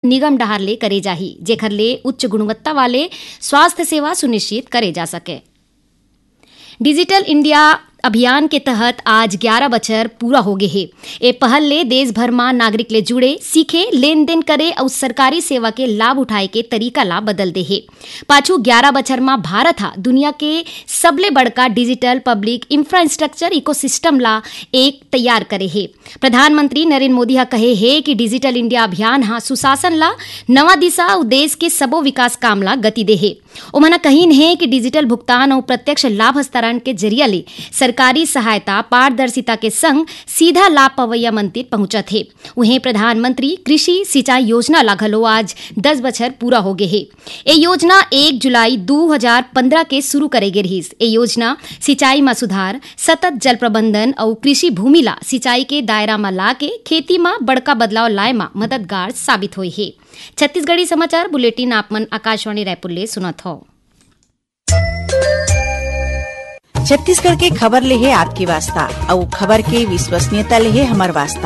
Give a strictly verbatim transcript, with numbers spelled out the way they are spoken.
निगम डहार ले करे जाही, जेखर ले उच्च गुणवत्ता वाले स्वास्थ्य सेवा सुनिश्चित करे जा सके। डिजिटल इंडिया अभियान के तहत आज ग्यारा बछर पूरा हो गे हे। ए पहल ले देश भर म नागरिक ले जुड़े, सीखे, लेन-देन करे अउ सरकारी सेवा के लाभ उठाए के तरीका ला बदल दे हे। पाछू ग्यारा बछर म भारत ह दुनिया के सबले बड़का डिजिटल पब्लिक इंफ्रास्ट्रक्चर इकोसिस्टम ला एक तैयार करे हे। प्रधानमंत्री नरेंद्र मोदी ह कहे हे कि डिजिटल इंडिया अभियान ह सुशासन ला नवा दिशा अउ देश के सबो विकास काम ला गति दे हे। ओमन ह कहिन हे कि डिजिटल भुगतान अउ प्रत्यक्ष लाभ हस्तांतरण के जरिया ले सरकारी सहायता पारदर्शिता के संग सीधा लाभ पवैया मन तीर पहुंचत हे। उहें, प्रधानमंत्री कृषि सिंचाई योजना ला घलो आज दस बछर पूरा हो गे हे। ए योजना एक जुलाई दू हजार पंद्रह के शुरू करे गे रिहिस। ए योजना सिंचाई म सुधार, सतत जल प्रबंधन अउ कृषि भूमि ला सिंचाई के दायरा म लाके खेती म बड़का बदलाव लाए म मददगार साबित होई हे। छत्तीसगढ़ी समाचार बुलेटिन आप मन आकाशवाणी रायपुर ले सुनत हव। छत्तीसगढ़ के खबर ले हे आपके वास्ता, अउ खबर के विश्वसनीयता ले हे हमर वास्ता।